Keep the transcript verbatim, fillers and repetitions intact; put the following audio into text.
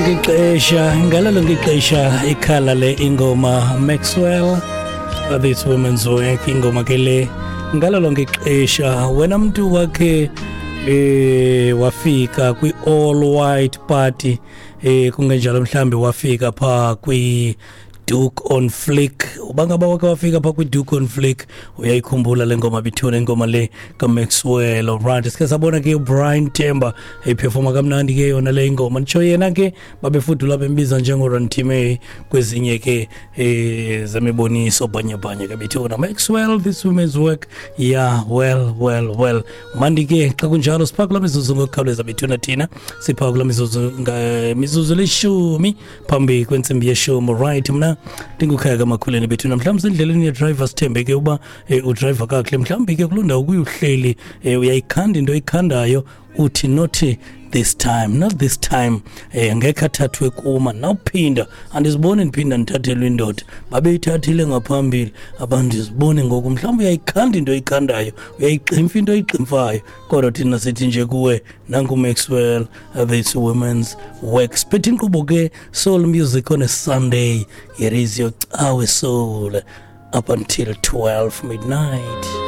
Lonke ixesha, ngalo lonke ixesha ikhala le ingoma, Maxwell, "This Woman's Work". Ingoma ke le, ngalo lonke ixesha wena mntu wakhe eh wafika kwi all white party, eh kungenjalo mhlambi wafika pha kwi Doek on Fleek, ubangaba wake wafika pha kwi Doek on Fleek, uyayikhumbula le ngoma bethuna, ingoma le kaMaxwell. Alright, sike sabona ke uBrian Temba eperforma kamnandi ke yona le ingoma. Nditsho yena ke babefudula bembiza njengoRantime kwezinye ke eh zemiboniso bhanyabhanya ke bethuna. Maxwell, "This Woman's Work". Yeah, well, well, well, mandi ke xa kunjalo sipha kula mizuzu ngokukhawuleza bethuna. Thina sipha kula mizuzu, mizuzu lishumi phambi kwentsimbi yeshumi. Right, mna ndingukhaya kamakhuleni bethuna. Mhlawumbi sendleleni yedrayiva, sithembe ke uba eh, udrayiva kakuhle. Mhlawumbi ke kuloo ndawo kuye uhleli, eh, uyayikhanda into oyikhandayo, uthi nothi this time, not this time, eh ngekhe athathwe kuma nawuphinda. Andiziboni ndiphinda ndithathelwe indoda, babeyithathile ngaphambili, abandiziboni ngoku. Mhlawumbi uyayikhanda into oyikhandayo, uyayiximfa into oyiximfayo, kodwa thina sithi nje kuwe, nanku Maxwell, "This Women's Work". Siphethe inkqubo ke, Soul Music on a Sunday. Here is your Cawe Soul up until twelve midnight.